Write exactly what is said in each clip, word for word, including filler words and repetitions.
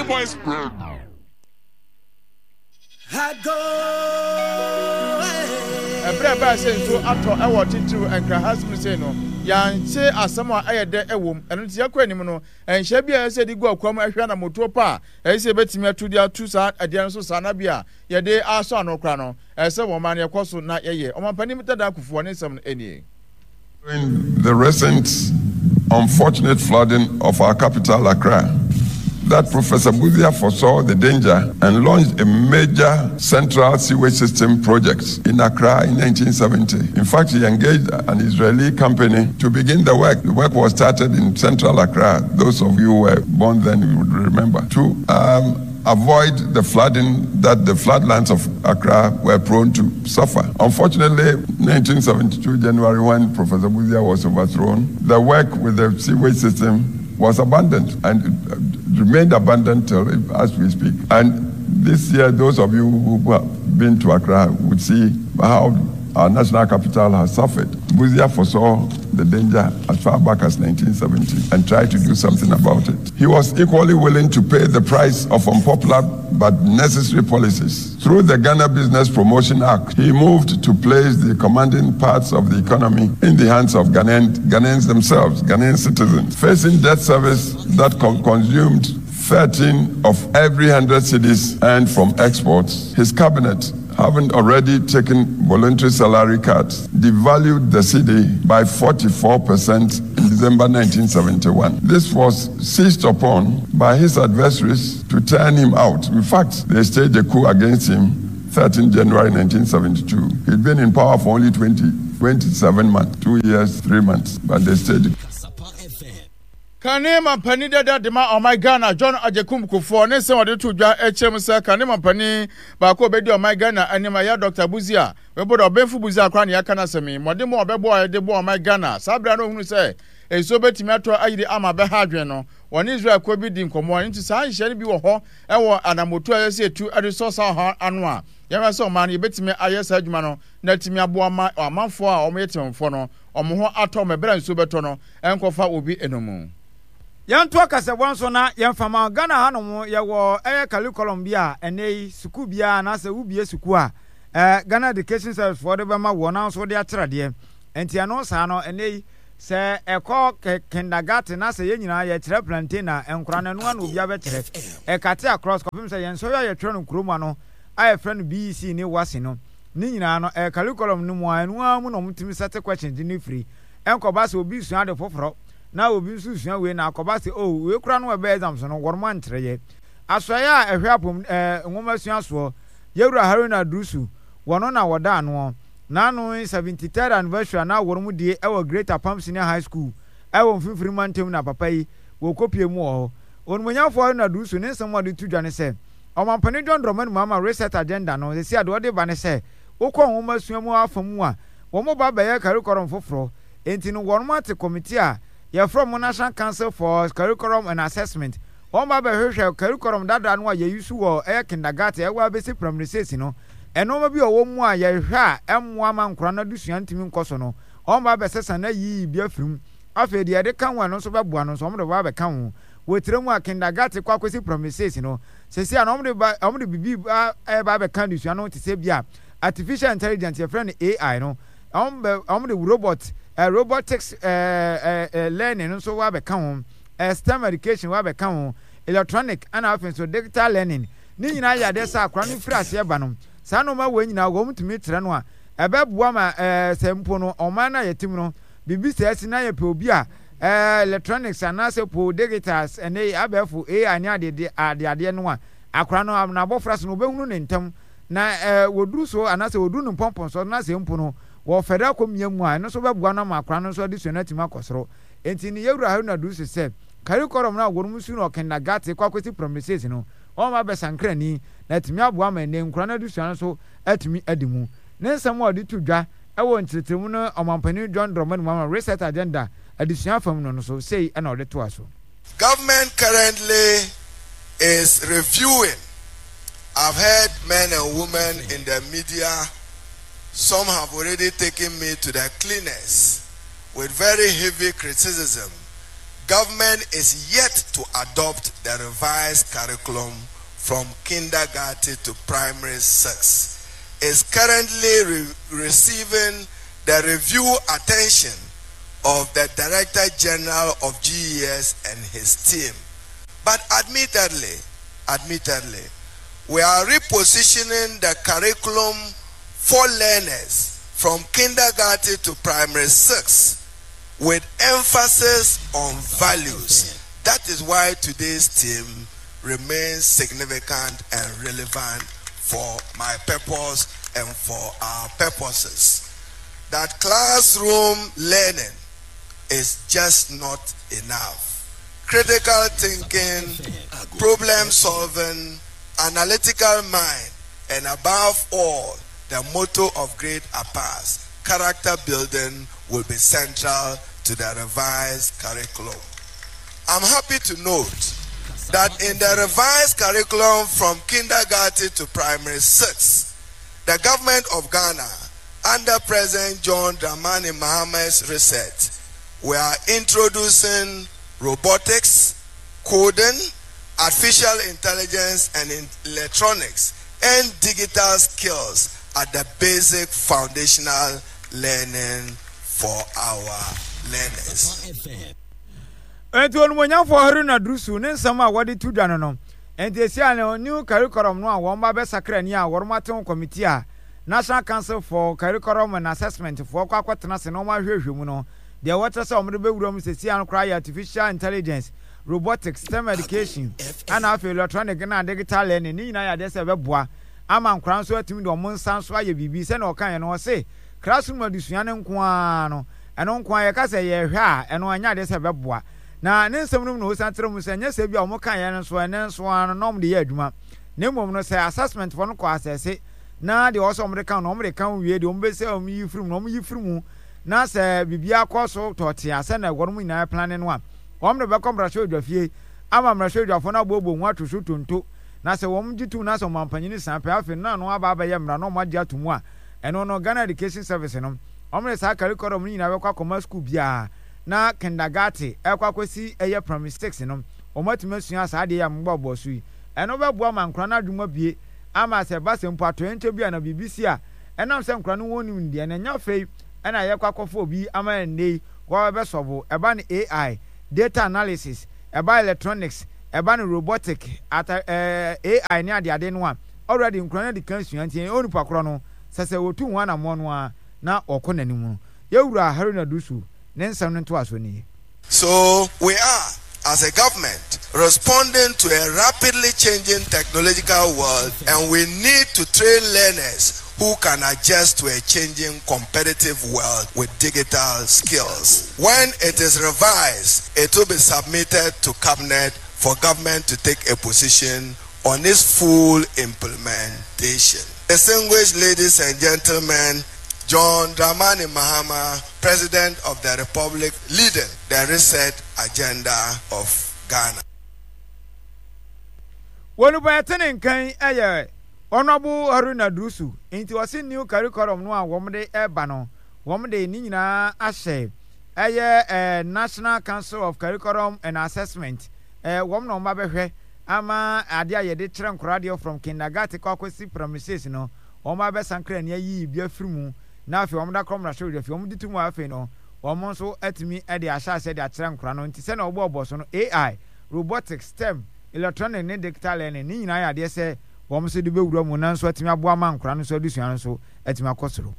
Boys. Ɛberɛ a ɛbae sɛ nsuo atɔ wɔ titiriw Nkran ha mu sei no, yɛante asɛm a ɛyɛ dɛ wom. Ɛno nti yɛkɔ anim no, nhyɛ bi a ɛsɛ sɛ yɛde gu akoa mu hwɛ anammɔtuo pa a ɛsɛ sɛ yɛbɛtumi atu de ato saa adeɛ no so saa na bi a yɛde asɔ ano koraa no, ɛsɛ sɛ wɔn ma no yɛkɔ so na yɛyɛ. Ɔmampanin Dada Kufuor ne nsɛm no nie. During the recent unfortunate flooding of our capital, Accra, that Professor Busia foresaw the danger and launched a major central sewage system project in Accra in nineteen seventy. In fact, he engaged an Israeli company to begin the work. The work was started in central Accra. Those of you who were born then you would remember. To, um, avoid the flooding that the floodlands of Accra were prone to suffer. Unfortunately, nineteen seventy-two, January, when Professor Busia was overthrown, the work with the sewage system was abandoned and it remained abandoned till as we speak. And this year, those of you who have been to Accra would see how our national capital has suffered. Busia foresaw the danger as far back as nineteen seventy and tried to do something about it. He was equally willing to pay the price of unpopular but necessary policies. Through the Ghana Business Promotion Act, he moved to place the commanding parts of the economy in the hands of Ghanaian, Ghanaians themselves, Ghanaian citizens. Facing debt service that con- consumed thirteen of every hundred cedis earned from exports, his cabinet, having already taken voluntary salary cuts, devalued the cedi by forty-four percent in December nineteen seventy-one. This was seized upon by his adversaries to turn him out. In fact, they staged a coup against him thirteenth January nineteen seventy-two. He'd been in power for only twenty, twenty-seven months, two years, three months, but they staged. Kane mampani dada de ma ɔman Ghana John Agyekum Kufuor ne nsɛm a ɔde to dwa kyerɛ mu sɛ kane mampani baako a obedi ɔman Ghana anim a ɛyɛ Doctor Busia webɔ dɛ ɔbenfo Busia koraa na yɛaka n'asɛm yi mmɔden a ɔbɛbɔ a yɛde bɔ ɔman Ghana saa bere a na ohunu sɛ nsuo betumi atɔ ayiri ama bɛha adwene no wɔne Israel kuo bi di nkɔmmɔ nti saa nhyehyɛ no bi wɔ hɔ ɛwɔ anamotu a yɛsɛ etu de sɔ saa ɔhaw ano a yɛhwɛ sɛ ɔman no yɛbɛtumi ayɛ saa adwuma no na atumi aboa ma amanfoɔ a wɔyɛ temamufoɔ no wɔn ho atɔ wɔn ɛberɛ a nsuo bɛtɔ no ɛnkɔfa obi enum. Yɛnto akasɛbɔ nso na yɛmfa ma Ghana hanom yɛwɔ ɛyɛ curriculum bi a ɛnɛ yi sukuu biara anaasɛ wobie sukuu a ɛɛ Ghana Education Service foɔ de bɛma wɔn na nso de akyerɛdeɛ nti ɛno saa no ɛnɛ yi sɛ ɛkɔ kindergarten na sɛ yɛn nyinaa yɛkyerɛ plantain na nkora no ɛno ano obi abɛkyerɛ ɛkate across kɔpem sɛ yɛn nsɔhwɛ a yɛtwerɛ no kurom ano a yɛfrɛ no B E C ne WASSCE no ne nyinaa no ɛyɛ curriculum no mu a ɛno ara mu na wɔtumi sɛte questions ne firi ɛnkɔba sɛ obi sua ade foforɔ na obi nso sua wei na akɔba sɛ oh wei kora no ɛbɛ exams no wɔn ankyerɛ yɛ asɔeɛ a ɛhwɛ apom ɛɛ nwoma sua soɔ yɛwura Haruna Iddrisu wɔn na wɔda ano n'ano seventy-third anniversary na wɔn mu die ɛwɔ Great Apam Senior High School ɛwɔ mfimfini mantam na papa yi wɔkɔpie mu wɔ hɔ onimonyamfoɔ Haruna Iddrisu ne nsɛm a ɔde to dwa ne sɛ ɔmampanin John Dramani Mahama reset agenda no sɛsi adeɛ ɔde ba ne sɛ wokɔ nwoma sua mu afa mu a wɔn ba bɛyɛ curriculum foforɔ nti no wɔn ate committee a yɛfrɛ mo National Council for Curriculum and Assessment wɔn ba bɛhwehwɛ curriculum dada no a yɛyi so wɔ ɛyɛ kindergarten ɛwɔ abɛsi primary six no ɛnɔɔma bi a ɔwɔ mu a yɛhwɛ a ɛmmoa ma nkora no adesua ntumi nkɔ so no wɔn ba bɛsesa na yiyi bi afiri mu afei deɛ yɛde ka ho ɛno nso bɛboa no nso wɔn de ba bɛka ho wɔ tire mu a kindergarten kɔ akɔsi primary six no sɛsi a na wɔn de ba wɔn de bibi ba ɛba bɛka adesua no te sɛ bi a artificial intelligence yɛfrɛ no A I no wɔn bɛ wɔn de robot uh, robotics uh, uh, uh, learning nso wa bɛka ho uh, STEM education wa bɛka ho electronic ɛna afei nso digital learning ne nyinaa yɛ adeɛ sɛ akora no firi aseɛ ba no saa nneɛma wɔ nyinaa wɔn tumi kyerɛ no a ɛbɛboa ma ɛɛ sɛ mpo no ɔman no a yɛte mu no biribi sɛ ɛsi na yɛpɛ obi a ɛɛ electronics anaasɛ po digitals ɛne abɛɛfo A I ne adeɛ adeadeɛ no a akora no n'abɔfra so no obɛhunu ne ntɛm na ɛɛ wɔduru so anaasɛ wɔduru ne mpɔmpɔn so na sɛ mpo no wɔ fɛdɛ akɔ mmea mu a ɛno nso bɛboa no ama akora no nso adesua no atumi akɔ soro nti ne yɛwura Haruna Iddrisu sɛ curriculum no a wɔn mu su no kindergarten kɔ akɔsi primary six no wɔn ba bɛsankrani na atumi aboa ma ɛnɛ nkora no adesua no nso atumi adi mu ne nsɛm a ɔde to dwa ɛwɔ nkyerɛkyerɛmu no ɔmampanin John Dramani Mahama reset agenda adesua fam no no so sei ɛna ɔde toa so. Government currently is reviewing. I've heard men and women in the media, some have already taken me to the cleaners with very heavy criticism Government is yet to adopt the revised curriculum from kindergarten to primary six. Is currently re- receiving the review attention of the Director General of GES and his team. But admittedly, admittedly, we are repositioning the curriculum for learners from kindergarten to primary six with emphasis on values. That is why today's theme remains significant and relevant for my purpose and for our purposes. That classroom learning is just not enough. Critical thinking, problem solving, analytical mind, and above all, the motto of Great Apas, character building will be central to the revised curriculum. I'm happy to note that in the revised curriculum from kindergarten to primary six, the government of Ghana, under President John Dramani Mahama's research, we are introducing robotics, coding, artificial intelligence and electronics, and digital skills at the basic foundational learning for our learners. Enti onumonyamfo Haruna Iddrisu ne nsɛm a wɔde to dwa no no enti esi a no new curriculum no a wɔn ba bɛsakra ni a wɔn ate ho committee a National Council for Curriculum and Assessment foɔ kɔ akɔtena se na wɔn ahwehwɛ mu no deɛ wɔkyerɛ sɛ wɔn de bɛwura mu sesi ano koraa yɛ artificial intelligence robotics STEM education ɛna afei electronic na digital learning ne nyinaa yɛ adeɛ sɛ ɛbɛboa ama nkwaraa nso atumi de wɔn nsa nso ayɛ biribi sɛnea ɔka yɛn no ɔse classroom adesua ne nko ara no ɛno nko ara yɛka sɛ yɛhwɛ a ɛno ɛnyɛ adeɛ sɛ ɛbɛboa na ne nsɛm no mu na ɔsan kyerɛ mu sɛ nyɛ sɛ bi a wɔn ka yɛn no nso ɛne nso ara no na wɔn de yɛ adwuma na mmom no sɛ assessment foɔ no kɔ asɛse na deɛ ɔsɛ wɔn de ka no wɔn de ka wie deɛ wɔn bɛsɛ wɔn yi firi mu na wɔn yi firi mu na sɛ biribiara kɔ so tɔɔte a sɛ na wɔn nyinaa plan no a wɔn de bɛkɔ mmarahyɛ fie ama mmarahyɛ odwafo no aboɔboɔ ho ato so tonto na sɛ wɔn gye tum na sɛ wɔn mpanyin san pɛ afei no ano aba abɛyɛ mmara na wɔn agye ato mu a ɛno no Ghana Education Service no wɔn de saa curriculum no nyinaa bɛkɔ akɔma school biara na kindergarten ɛkɔ akɔsi ɛyɛ primary six no wɔn atumi asua saa adeɛ yɛ a mbɔ so yi ɛno bɛboa ma nkora no adwuma bie ama sɛ ɛba sɛ mpo atoyɛnkyɛ bi a na biribi si a ɛnam sɛ nkora no wɔn nim deɛ na ɛnya afei ɛna yɛkɔ akɔfo obi ama ɛnɛ yi wɔbɛsɔbo ɛba no AI data analysis ɛba electronics ɛba no robotic ata ɛɛ AI ne adeade no a already nkora no de kan sua nti onipa korɔ no sɛ sɛ wɔtu ho anammɔ no a na ɔkɔ n'anim no yɛwura Haruna Iddrisu ne nsɛm no ntoaso nie. So we are, as a government, responding to a rapidly changing technological world, and we need to train learners who can adjust to a changing competitive world with digital skills. When it is revised, it will be submitted to Cabinet for government to take a position on its full implementation. Distinguished ladies and gentlemen, John Dramani Mahama, President of the Republic, leading the reset agenda of Ghana. wɔn ba yɛte ne nkan yɛ Honourable Haruna Iddrisu nti wɔsi new curriculum no a wɔn de ɛreba no wɔn de ne nyinaa ahyɛ ɛyɛ ɛɛ National Council of Curriculum and Assessment ɛɛ wɔn na wɔn ba bɛhwɛ ama adeɛ a yɛde kyerɛ nkɔla deɛ from kindergarten kɔ akɔsi primary six no wɔn ba bɛsankra ni ayi bi afiri mu na afei wɔn da kɔ mmarahyɛ odwa fie wɔn de tu mu afei no wɔn nso atumi de ahyɛ aseɛ de akyerɛ nkɔla no nti sɛnea wɔbɔ ɔbɔ so no AI robotics STEM electronic ne digital learning ne nyinaa yɛ adeɛ sɛ wɔn nso de bɛwura mu na nso atumi aboa ma nkɔla no nso adesua no nso atumi akɔ soro.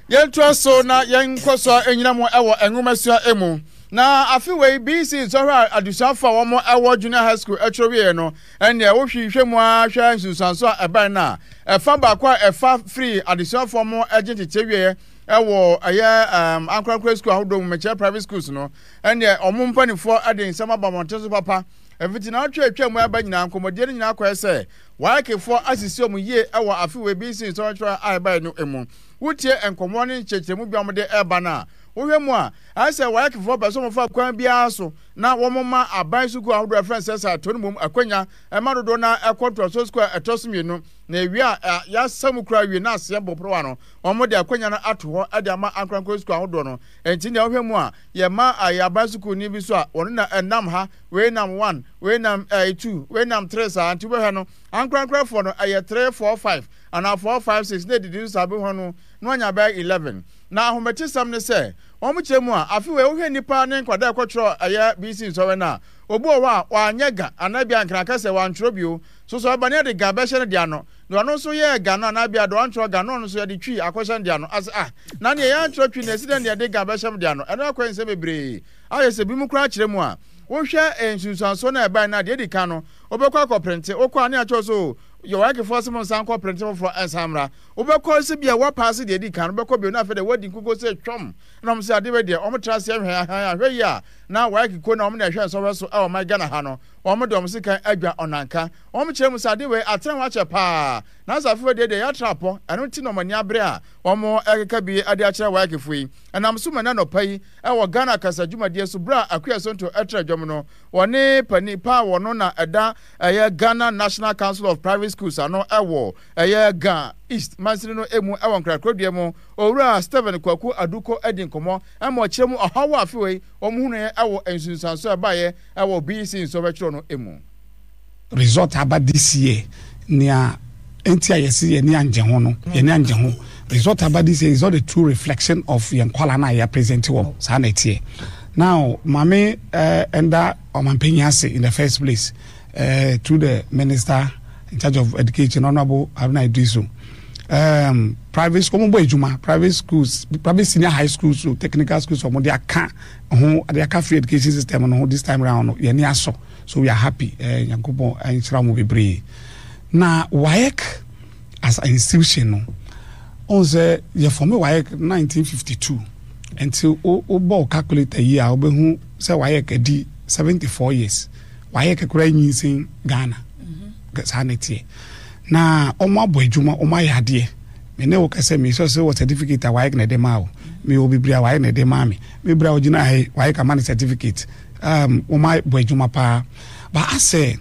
yɛntoa so na yɛnkɔ so anyina mu ɛwɔ nwomasua mu na afe wei BECE nsɔhwɛ a adesuafo a wɔn ɛwɔ junior high school atwerɛ wieɛ no ɛnneɛ wohwehwɛ mu a hwɛ nsunsuanso a ɛbɛn no a ɛfa baako a ɛfa firi adesuafoɔ mo agye tete wieɛ ɛwɔ ɛyɛ ɛɛm ankorankora school ahodoɔ mu mɛkyerɛ private schools no ɛnneɛ ɔmo mpanimfoɔ ɛde nsɛm aba mmɔnten so papa ɛfiti na atwa atwa mu ɛba nyinaa nkɔmmɔdie no nyinaa kɔɛ sɛ WAECfoɔ asisi ɔmo yie ɛwɔ afe wei BECE nsɔhwɛ a ɛbaeɛ no mu wotie nkɔmmɔ ne nkyerɛkyerɛmu bi a wɔde ɛreba no a Wohwɛ mu a, ayɛ sɛ WAECfoɔ pɛ sɛ wɔfa kwan biara so na wɔma aban sukuu ahodoɔ a ɛfrɛ no sɛ sɛ ato no mmom akwanya ma dodoɔ no ara kɔ ntoasoɔ sukuu a ɛtɔ so mmienu, na ewie a yɛasa mu koraa wie na aseɛ bɔ porowa no, wɔde akwanya no ato hɔ de ama ankorankoro sukuu ahodoɔ no. Enti nea wohwɛ mu a, yɛma ayɛ aban sukuuni bi so a, wɔno na ɛnam ha, wei nam one, wei nam ɛɛ two, wei nam three saa. Nti wobɛhwɛ no, ankorankorafoɔ no ɛyɛ three, four, five anaa four, five, six na ɛdidi so saa bɛhwɛ no na wanya bɛyɛ eleven. Na ahometesɛm ne sɛ, wɔn kyerɛ mu a, afe wei wohwɛ nnipa ne nkwadaa a ɛkɔtwerɛ ɛyɛ B C nsɔhwɛ no a, obi wɔ hɔ a wanyɛ ga anaa bi a nkraka sɛ wantwerɛ bio. So sɛ ɔba ne yɛde ga bɛhyɛ no de ano, deɛ ɔno nso yɛɛ ga no anaa bi a deɛ wantwerɛ ga no, ɔno nso yɛde twi akɔhyɛ no de ano. Ase ah, na neɛ yɛantwerɛ twi no, ɛsi dɛn na yɛde ga bɛhyɛ m de ano? Ɛno akɔyɛ nsɛm bebree. Ayɛ sɛ binom koraa kyerɛ mu a, wohwɛ nsunsuansoɔ no a ɛbae no a, deɛ ɛdi kan no, wobɛkɔ akɔprente, wokɔ a ne akyerɛ so yɛ WAECfoɔ sɛ mo nsan nkɔ prente foforɔ ɛnsan mmra. Wobɛkɔ sɛ bia woapaase deɛ ɛdi kan no, wobɛkɔ bio na afei deɛ woadi nkukuo sɛ twam. Na wɔn sɛ adeɛ wei deɛ wɔn tra aseɛ hwɛ ahan ahwɛ yi a, na WAEC kuo na wɔn na ɛhwɛ nsɔhwɛ so ɛwɔ man Ghana ha no, wɔn de wɔn sekan adwa ɔnanka. Wɔn kyerɛ mu sɛ adeɛ wei atena ho akyɛ paa, nanso afei wei deɛ deɛ yɛatra apɔ, ɛno nti na wɔn ani abere a wɔn ɛkeka bi de akyerɛ WAEC foɔ yi. Ɛnam so ma ɛnɛ anɔpa yi ɛwɔ Ghana kasa dwumadie so berɛ a Akua Sonto ɛtra dwam no, wɔne panin pa a wɔno na ɛda ɛyɛ Ghana National Council of Private Schools ano ɛwɔ ɛyɛ Ga East mansini no emu ɛwɔ Nkrakurodua mu, Owura Stephen Kwaku Aduko adi nkɔmmɔ ɛma ɔkyerɛ mu ɔhaw a afei wɔn hunuiɛ ɛwɔ nsunsuanso a ɛbaeɛ ɛwɔ B E C nsɔhwɛtwerɛ no mu. Result aba this year, nea nti a yɛsi yɛni angye ho no, yɛni angye ho. Result aba this year is not the true reflection of yɛn nkwalaa na yɛ present wɔn saa na ɛteɛ. Now, maame ɛɛ ɛnda ɔmanpanyin ase in the first place uh, through the minister in charge of education, Honourable Haruna Iddrisu. um, private school, wɔn bɔ adwuma, private schools, private senior high schools, so technical schools, wɔn de aka ho, de aka free education system no ho this time round no, yɛn ni asɔ, so we are happy. ɛɛ Nyankopɔn nhyira wɔn bebree. Na WAEC as an institution no, ɔn sɛ yɛ form WAEC nineteen fifty-two, nti o o bɔ calculator yi a, wobɛhu sɛ WAEC adi seventy-four years. WAEC koraa nyinsen Ghana saa na ɛteɛ. Na ɔmo abɔ adwuma, ɔmo ayɛ adeɛ. Me ne wo kɛsɛ me sɛ sɛ wɔ certificate a, WAEC na ɛde maa o. Me wɔ bebree a, WAEC na ɛde maa me. Me bere a ogyina ha yi, WAEC ama ne certificate. um, ɔmo abɔ adwuma paa ba asɛ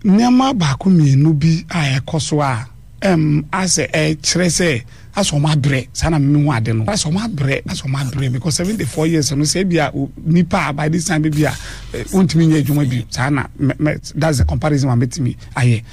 nneɛma baako mmienu bi a ɛkɔ so a ɛm asɛ ɛkyerɛ sɛ asɛ ɔmo abrɛ saa na mímu ade no, asɛ ɔmo abrɛ, asɛ ɔmo abrɛ, because seventy four years no, sɛ ebi a nipa a by this time bi a wontumi nyɛ adwuma bi saa na mɛ mɛ that's the comparison wa mɛtumi ayɛ.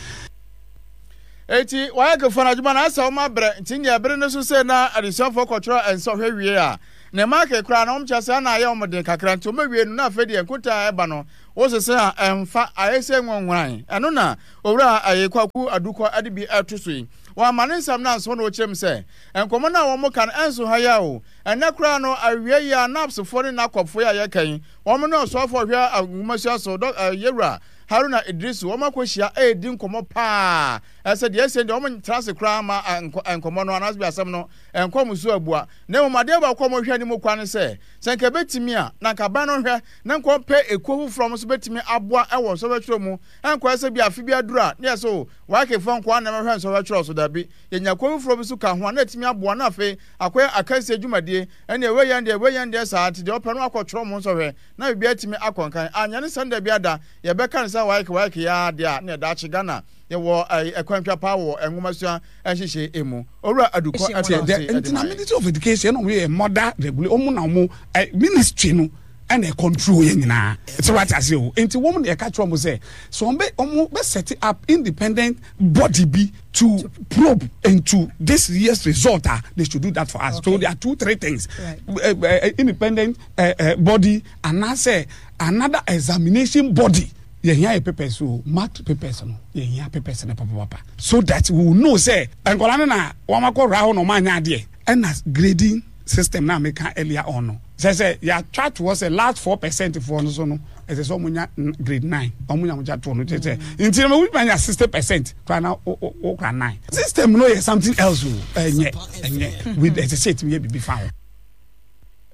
Eti WAECfoɔ no adwuma no asɛ wɔn abrɛ, nti deɛ ɛbere no so sɛ na adesuafoɔ kɔtwerɛ nsɔhwɛ wie a, ne mark koraa na wɔn kyerɛ sɛ ɛna ayɛ wɔn den kakra, nti wɔn awie no na afei deɛ nkuta a ɛba no wosese a ɛmfa ayɛ sɛ nwɔnwran. Ɛno na Owura ɛyɛ Kwaku Adukɔ ɛde bi ɛto so yi. Wɔn ama ne nsɛm no anso na ɔkyerɛ mu sɛ nkɔmɔ no a wɔn ka no ɛnso ha yi a o, ɛnɛ koraa no awie yi a, NAPSfoɔ ne NACOPfoɔ yi a yɛka yi, wɔn ne ɔsoafoɔ hwɛ nwomasua so dɔ yɛwura Haruna Iddrisu, wɔn akɔhyia ɛredi nkɔmɔ paa. Ɛsɛ deɛ ɛsɛ deɛ wɔn tena ase koraa ma nkɔmɔ no anaasɛ bi asɛm no nkɔ mo so abua. Na mmom adeɛ baako a wɔhwɛ anim kwan ne sɛ sɛ nka ɛbɛtumi a, na nka aban no hwɛ na nka ɔpɛ ekuo foforɔ a wɔn nso bɛtumi aboa ɛwɔ nsɔhwɛtwerɛ mu. Ɛnkɔyɛ sɛ bi afe bi aduru a, ne yɛ so WAECfoɔ nko ara na ɛmɛhwɛ nsɔhwɛtwerɛ so. Dabi, yɛnya kuo foforɔ bi so ka ho a, na ɛtumi aboa na afei akɔyɛ akansie dwumadie. Ɛne ɛwɛ yɛn deɛ, ɛwɛ yɛn deɛ saa, nti deɛ ɔpɛ no akɔtwerɛ mo nsɔhwɛ na biribi atumi akɔ nkan. Anyɛ ne sɛn da bi ada yɛbɛka ne sɛ WAEC WAEC yɛ adeɛ a na ɛda akye Ghana yɛwɔ ɛkwantwa paa wɔ nwomasua nhyehyɛ emu. Owura Adukɔ ɛtena ase. Nti na Ministry of Education ɛna ɔmo yɛ mother regulate, ɔmo na ɔmo ministry no ɛna control yɛ nyinaa sɛ wate ase o. Nti wɔn na yɛka kyerɛ ɔmo sɛ sɛ ɔmo bɛ ɔmo bɛ set up independent body bi to probe into this year's result ah, they should do that for us. Okay. So there are two, three things: right. uh, uh, independent uh, uh, body anaasɛ another examination body. Yɛhia yɛ papers o, marked papers no, yɛhia papers no papapapa so that we will know sɛ nkɔla no na wɔn akɔ wura hɔ na wɔn anya adeɛ. Ɛna grading system na meka earlier on no, sɛ sɛ yɛatwa toɔ sɛ last four percent foɔ no so no, ɛsɛ sɛ wɔn nya grade nine, wɔn nya wɔn gya toɔ no kyerɛ sɛ nti na wɔn nya sixty percent kora na o o kora nine. System no yɛ something else o, ɛnyɛ ɛnyɛ with ɛsɛ sɛ ɛtumi yɛ bibi fa ho.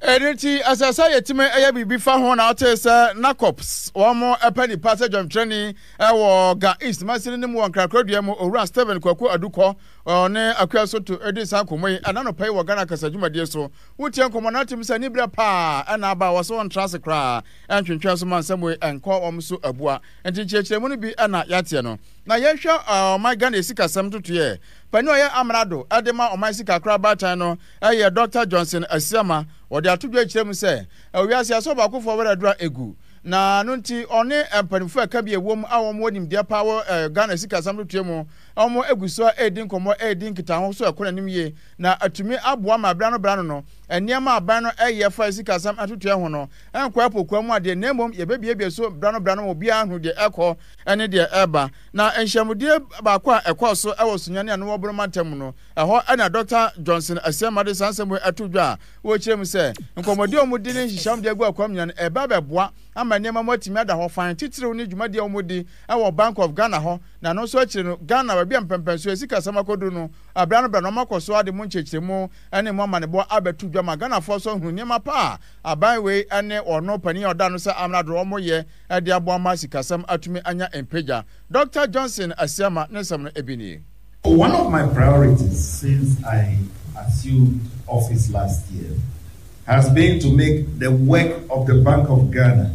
Ɛno nti, ɛsɛ sɛ yɛtumi yɛ biribi fa ho. Na ɔtee sɛ NACOPS wɔn pɛ nipa sɛ dwamkyerɛni wɔ Ga East mansini no mu wɔ Nkrakraduaa mu, Owura Stephen Kwaku Adukɔ ɔne Akua Soto di saa nkɔmmɔ yi ɛna anɔpa yi wɔ Ghana kasa dwumadie so. Wotie nkɔmmɔ no atim sɛ aniberɛ paa ɛna aba a wɔsɛ wɔntra ase koraa ɛntwentwɛn so ma nsɛm wei ɛnkɔ wɔn so abua. Nti nkyerɛkyerɛmu no bi ɛna yɛateɛ no. Na yɛnhwɛ ɔman Ghana sikasɛm ntotoeɛ. Panin a ɔyɛ amrado de ma ɔman sika baatan no yɛ Dɔkta Johnson Asiama. Wɔde ato dwa kyerɛ mu sɛ, ɛwɔ wiase asɛ ɔbaakofoɔ werɛ aduru a egu. Na no nti ɔne mpanimfoɔ a ɛka bi ɛwom a wɔn wɔ nimdeɛ paa wɔ Ghana sikasɛm ntotoeɛ mu, wɔn egu so a ɛredi nkɔmmɔ, ɛredi nkitaho so ɛkɔ n'anim yie na atumi aboa ma berɛ ano berɛ ano no nneɛma a aban no ɛyɛ fa sikasɛm ntotoeɛ ho no ɛnkɔ ɛpokoa mu adeɛ na mmom yɛbɛbiebie so berɛ ano berɛ ano ma obiara ahunu deɛ ɛkɔ ne deɛ ɛreba. Na nhyiamudie baako a ɛkɔɔ so wɔ Sunyani a no wɔ Bono mantam mu no, ɛhɔ na Dɔkta Johnson Asiamah de saa nsɛm wei ato dwa a ɔrekyerɛ mu sɛ, nkɔmmɔdie a wɔdi ne nhyehyɛe a wɔde agu akwam nyinaa no, ɛreba abɛboa ama nneɛma mu atumi ada hɔ fann, titiriw ne dwumadie a wɔdi wɔ Bank of Ghana hɔ, na ɛno nso akyiri no, Ghana, baabi a mpɛmpɛnsoɔ sikasɛm akɔduru no, berɛ ano berɛ no, wɔakɔ so ara de mu nkyerɛkyerɛmu ne mu amanebɔ abɛto dwa ma Ghanafoɔ nso ahunu nneɛma pa a aban wei ne ɔno panin a ɔda ano sɛ amrado wɔyɛ de aboa ma sikasɛm atumi anya mpagya. Dɔkta Johnson Asiamah ne nsɛm no bi nie. One of my priorities since I assumed office last year has been to make the work of the Bank of Ghana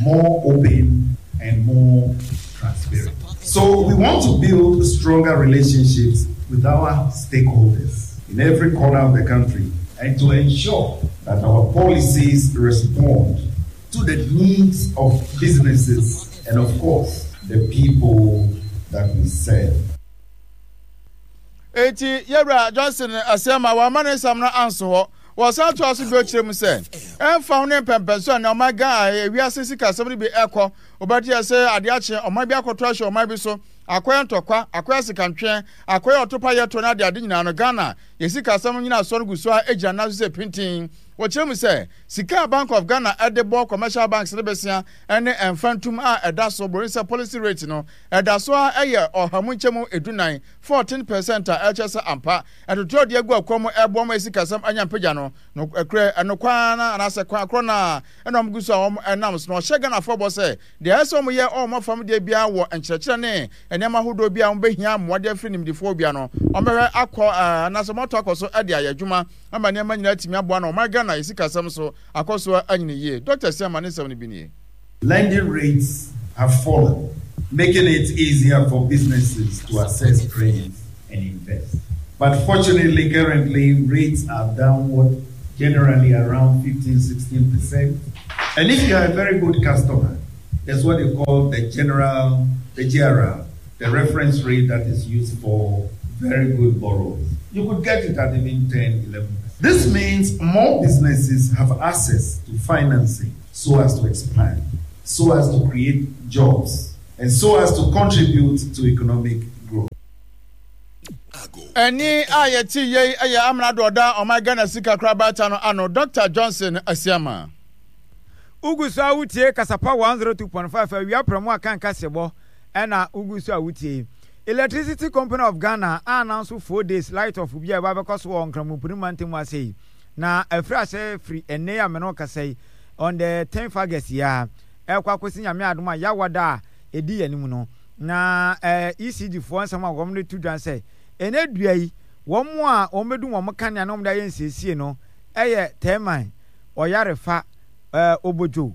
more open and more transparent. So we want to build stronger relationships with our stakeholders in every corner of the country and to ensure that our policies respond to the needs of businesses and, of course, the people that we serve. Enti Yɛwura Johnson Asiamah wamma ne nsɛm no anso hɔ. Wɔsan toa so bio kyerɛ mu sɛ, ɛmfa ho ne mpɛmpɛnso a nea ɔman Ghana a wiase sikasɛm no bi rekɔ, wobɛte sɛ ade akye ɔman bi akɔto ahyɛ ɔman bi so, akɔyɛ ntɔkwa, akɔyɛ asekantweɛ, akɔyɛ ɔtopa yɛto ne adeade nyinaa no, Ghana yɛ sikasɛm nnyinasoɔ no gu so ara gyina nan so sɛ pintinn. Wɔkyerɛ mu sɛ, sika a Bank of Ghana de bɔ commercial banks no bɛsia ne mfantom a ɛda so, buroni sɛ policy rate no, ɛda so ara yɛ ɔha mu nkyɛmu edunan, fourteen percent, a ɛkyerɛ sɛ ampa ntotoe a wɔde agu akwan mu reboa ma sikasɛm anya mpagya no, nokorɛ, ɛno kwan ara anaasɛ kwan korɔ no ara na wɔgu so a wɔnam so. Na wɔhyɛ Ghanafoɔ bɔ sɛ deɛ ɛsɛ sɛ wɔyɛ wɔ wɔn afam deɛ biara wɔ nkyerɛkyerɛ ne nneɛma ahodoɔ bi a wɔbɛhia mmoa de afiri nimdefoɔ biara no, wɔbɛhwɛ akɔ anaasɛ wɔato akɔ so de ayɛ adwuma ama nneɛma nyinaa atumi aboa na ɔman Ghana yɛ sikasɛm so akɔ so anyini yie. Dɔkta Asiamah ne nsɛm no bi nie. Lending rates have fallen, making it easier for businesses to access credit and invest. But fortunately, currently rates are downward, generally around fifteen, sixteen percent. And if you are a very good customer, there's what they call the general, the G R R, the reference rate that is used for very good borrowers. You could get it at even ten, eleven percent. This means more businesses have access to financing so as to expand, so as to create jobs, and so as to contribute to economic growth. Ɛnne a yɛte yei yɛ Amrado ɔda ɔman Ghana sika korabata no ano, Dɔkta Johnson Asiamah. Wogu so a wotie Kasapa one zero two point five awia prɛmo a kan kaseɛbɔ ɛna wogu so a wotie yi. Electricity Company of Ghana a announce four days light off bi a ɛba bɛkɔ so wɔ Nkramompini mantam ase yi na afiri ase firi ɛnnɛ yi a me ne wo kasa yi on the tenth August yi ara ɛrekɔ akɔsi Nyame adom a Yawada a ɛdi yɛn anim no na eh, E C G foɔ nsɛm a wɔn de to dwa sɛ ɛnɛ dua yi wɔn a wɔn bɛdum wɔn kanea na wɔn de ayɛ nsiesie no ɛyɛ Tɛɛman, Ɔyarefa, eh, Obodwo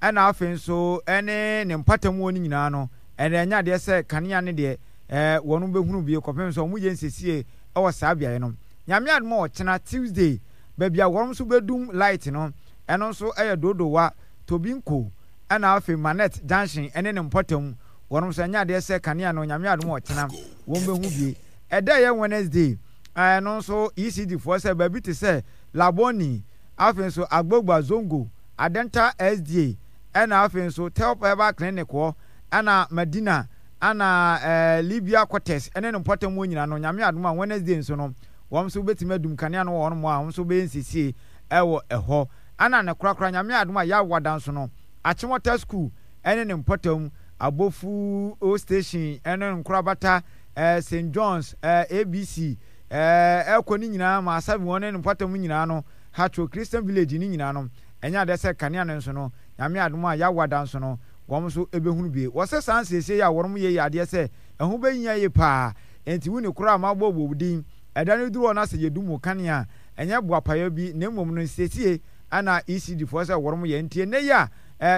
ɛna afei nso ɛne ne mpatamuo no nyinaa no ɛna ɛnyɛ adeɛ sɛ kanea no deɛ eh, wɔn bɛhunu bie kɔpem sɛ wɔn yɛ nsiesie ɛwɔ saa beaeɛ no. Nyame adom a ɔkyena Tuesday baabi a wɔn nso bɛdum light no ɛno nso ɛyɛ Dodowa, Tobinko ɛna afei Manet Junction ɛne ne mpɔtam wɔn nso ɛnyɛ adeɛ sɛ kanea no Nyame adom a ɔkyena wɔn bɛhu bie. Ɛda ɛyɛ Wednesday ɛno nso E C G foɔ sɛ baabi te sɛ Labone, afei nso Agbogba Zongo, Adenta S D A ɛna afei nso Telp Herbal Clinic hɔ ɛna Madina ɛna ɛɛ Libya Quarters ɛne ne mpɔtam hɔ nyinaa no Nyame adom a Wednesday nso no wɔn nso bɛtumi adum kanea no wɔ hɔnom a wɔn nso bɛyɛ nsiesie ɛwɔ ɛhɔ ɛna ne korakora Nyame adom a Yawada nso no Achimota School ɛne ne mpɔtam Abofu O Station ɛne Nkorabata ɛɛ Saint John's ɛɛ A B C ɛɛ ɛkɔ ne nyinaa ma Asabi wɔn ne ne mpɔtam nyinaa no Haatso Christian Village ne nyinaa no, ɛnyɛ adeɛ sɛ kanea no nso no, Nyame adom a Yawoada nso no, wɔn nso bɛhunu bi. Wɔse saa nsiesie yi a wɔnom yɛ yi yɛ adeɛ sɛ ɛho bɛhia yie paa, enti wonni koraa a mabɔ wɔ wo din. Ɛda no duru hɔ na sɛ yɛdum wo kanea a, ɛnyɛ boapayɔ bi na mmom no nsiesie na E C D foɔ sɛ wɔnom yɛ. Nti ɛnnɛ yi a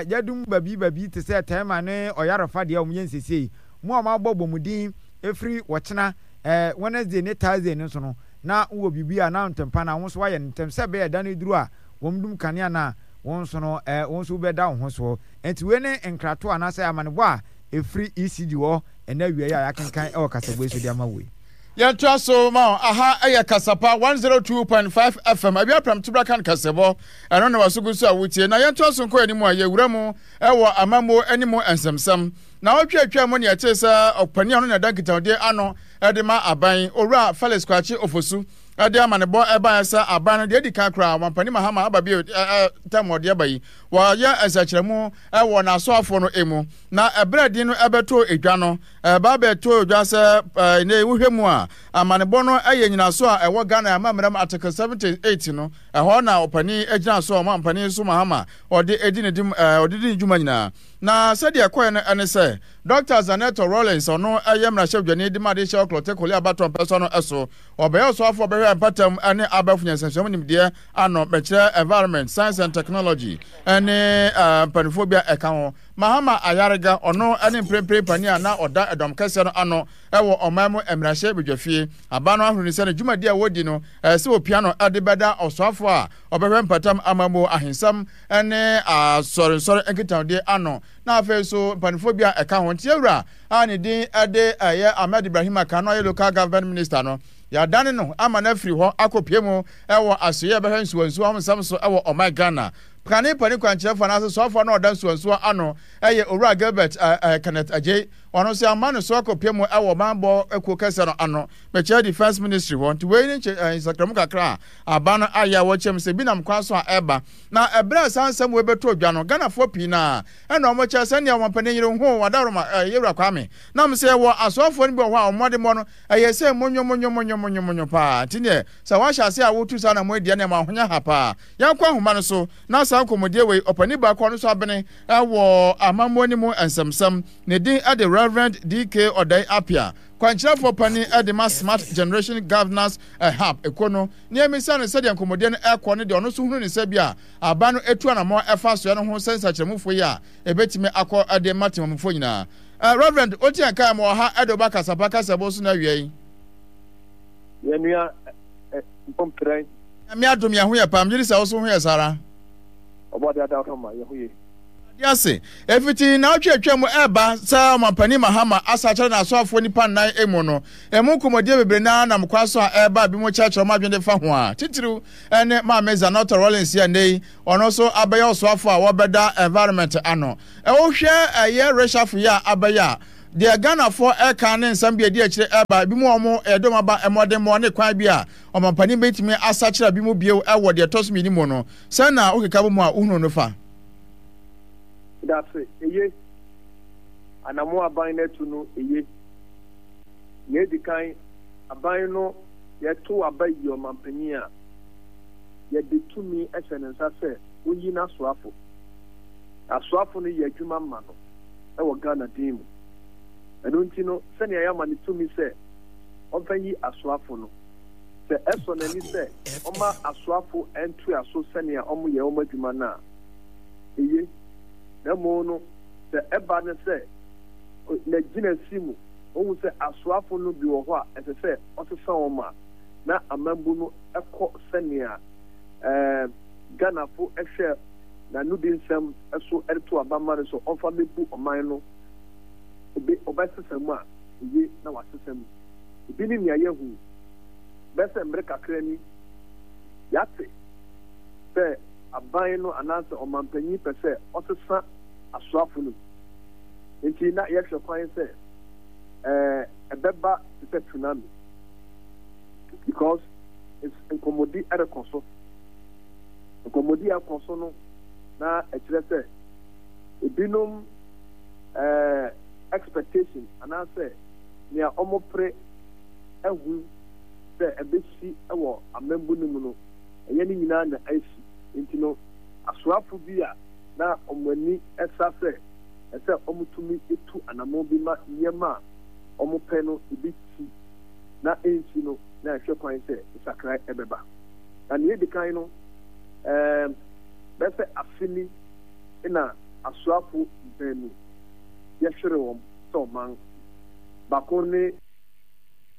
yɛadum baabi baabi te sɛ Tema ne Ɔyarefa deɛ wɔyɛ nsiesie yi, mo a moabɔ bɔ mo din ɛfiri ɔkyena Wednesday ne Thursday no nso no, na wowɔ biribi a na ntɛmpa no a wo nso woayɛ no ntɛm sɛ ɛbɛyɛ ɛda no duru a wɔdum kanea no a, wo nso no, wo nso wobɛda wo ho soɔ. Enti wei ne nkratoɔ anaasɛ amanebɔ a ɛfiri E C G hɔ ɛnnɛ awia yi a yɛakenkan wɔ kasaboa yi so de ama wo yi. Yɛntoa so ma wo. Aha yɛ Kasapa one zero two point five F M. Awia Prɛm Tobra kan kasɛbɔ. Ɛno na waso gu so a wotie. Na yɛntoa so nkɔ anim a yɛwura mu wɔ amammuo ne mu nsɛmsɛm. Na ɔtwe atwa mu ne yɛtee sɛ ɔpanin a ɔno na ɛda nkitahodie ano de ma aban, Owura Felix Kwakye Ofosu, de amanebɔ ɛbaeɛ sɛ aban no deɛ adi kan koraa Ɔmampanin Mahama aba bio tam ɔde aba yi, wɔayɛ nsakyeramu wɔ n'asoafoɔ no mu. Na ɛberɛ din no ɛbɛtoo edwa no, ɛba bɛtoo dwa sɛ ɛnɛ wohwɛ mu a, amanebɔ no yɛ nyinaso a ɛwɔ Ghana amammerɛ mu Article seventy-eight no, ɛhɔ na ɔpanin gyina so, ɔmampanin so Mahama ɔde edi ne dim ɔde di ne dwuma nyinaa. Na sɛdeɛ ɛkɔɛ no ɛne sɛ Doctor Zanetor Rawlings, ɔno ɛyɛ mmarahyɛbadwani de ma adehyɛ Ɔklɔte Kole abatoɔ mpɛsoa no so, ɔbɛyɛ ɔsoafoɔ ɔbɛhwɛ mpatam ne abɛɛfo nyansansua mu nimdeɛ ano, bɛkyerɛ Environment, Science and Technology, ne mpanimfoɔ bi a ɛka ho. Mahama Ayariga, ɔno ne mprempren panin a na ɔda ɛdɔm kɛseɛ no ano wɔ ɔman mu mmarahyɛ badwafie. Aba no ahunu sɛ ne dwumadi a wɔdi no ɛsɛ sɛ wɔpia no de bɛda ɔsoafoɔ a ɔbɛhwɛ mpatam amammuo, ahensɛm ne asɔrensɔre nkitahodie ano, na afei nso mpanimfoɔ bi a ɛka ho. Nti awura a ne din de ɛyɛ Ahmed Ibrahim Aka no ɔyɛ Local Government Minister no, yɛadane no ama no afiri hɔ akɔpie mu wɔ asoeɛ a ɛbɛhwɛ nsuwansuwa ho nsɛm so wɔ ɔman Ghana. Kane panin kwankyerɛfoɔ anaasɛ soafoɔ no a ɔda nsuwansuwa ano yɛ Owura Gilbert Kenneth Adjei. Ɔno nso yɛama no so akɔpie mu wɔ ɔmanbɔ kuo kɛseɛ no ano, mekyerɛ Defence Ministry hɔ. Nti wei ne nsakramu kakra a aba no ayɛ a wɔkyerɛ mu sɛ bi nam kwan so a ɛreba. Na ɛberɛ a saa nsɛm wei bɛtɔ dwa no, Ghanafoɔ pii no ara ɛna wɔn kyerɛ sɛnea ɔmampanin yere ho Adaworoma Yewura Kwame nam sɛ yɛwɔ asoafoɔ no bi wɔ hɔ a wɔn mmɔdemmɔ no ɛyɛ sɛ monyo monyo monyo monyo monyo paa. Nti neɛ sɛ wɔahyɛ ase a wotu saa na mo deɛ nea mo ahonya ha paa. Yɛnkɔ ahoma no so na saa nkɔmmɔdie wei, ɔpanin baako a ɔno nso abene wɔ amammuo no mu nsɛmsɛm, ne din de Reverend D K Ɔdae Appiah, kwankyerɛfoɔ panin de ma Smart Generation Governance Hub ekuo no, ne yɛmmisa no sɛdeɛ nkɔmmɔdie no ɛkɔ ne deɛ ɔno nso hunu ne sɛ bi a aba no etu anammɔn ɛfa soɛ no ho sɛ nsakyerɛmufoɔ yi a ɛbɛtumi akɔ de ma temamufoɔ nyinaa. uh, Reverend oti anka ma ɔha ɛde ɔba kasapa kasɛbo so na awia yi. Yɛnua mpɔmprɛn. Nyame adom, yɛn ho yɛ paa. Megye di sɛ wo so ho yɛ saa ara. Ɔbɔde ada hɔ ma yɛn ho yie. Ade ase efiti naawɔtwe atwa mu ɛreba sɛ Ɔmampanin Mahama asa akyerɛ n'asoafoɔ nipa nnan emu no, emu nkɔmmɔdie bebree naa nam kwan so a ɛreba a binom kyerɛkyerɛ wɔn adwene de fa ho a titiriw ne Maame Zanetor Rawlings yi a nnɛ yi ɔno nso abɛyɛ ɔsoafoɔ a wɔbɛda environment ano. Wohwɛ ɛyɛ reshuffle yi a abɛyɛ a, deɛ Ghanafoɔ ɛka ne nsɛm bi a ɛdi akyire ɛreba, ebinom a wɔn ɛde wɔn aba mmɔdemmɔ ne kwan bi a ɔmampanin bɛtumi asakyera bi mu bio ɛwɔ deɛ ɛtɔ so mmienu mu no, sɛn na wokeka bɔ mu a wohunu no fa? Dase, eye. Anamo aban no atu no, eye. Nea edi kan, aban no, yɛtow aba yi ɔmampanyin a, yɛde tumi hyɛ ne nsa sɛ onyi n'asoafo. Asoafo no yɛ adwuma ma no wɔ Ghana din mu. Ɛno nti no, sɛnea yɛama no tumi sɛ ɔmfa nyi asoafo no, sɛ ɛsɔ n'ani sɛ ɔmma asoafo ntoa so sɛnea wɔyɛ wɔn adwuma no a, eye. Na mmom no, sɛ ɛba no sɛ n'agyinasi mu ohu sɛ asoafo no bi wɔ hɔ a ɛsɛ sɛ ɔsesa wɔn a, na amambu no kɔ sɛnea Ghanafo hwɛ n'anodi nsɛm so de to aba ma no sɛ ɔmfa mmebu ɔman no, obe ɔbɛsesa mu a, eye na wasesa mu. Ebi ne nea yɛahu yi. Bɛyɛ sɛ mmere kakra ni, yɛate sɛ aban no anaasɛ ɔmampanyin pɛ sɛ ɔsesa asoafo no mu. Enti na yɛhwɛ kwan sɛ ɛɛ ɛbɛba te sɛ tsunami because nkɔmmɔdi rekɔ so. Nkɔmmɔdi a ɛkɔ so no na ɛkyerɛ sɛ ebinom ɛɛ expectation anaasɛ nea wɔpere ahu sɛ ɛbɛsi wɔ amambu no mu no, Ɛnyɛ ne nyinaa na asi. Enti no, asoafo bi a na wɔn ani sa sɛ ɛsɛ sɛ wɔtumi tu anammɔn bi ma nneɛma a wɔpɛ no bi si na ensi no, na ɛhwɛ kwan sɛ nsakrae bɛba. Na nea edi kan no, ɛɛm, bɛyɛ sɛ afe ni na asoafo baanu yɛhweree wɔn sɛ ɔman. Baako ne.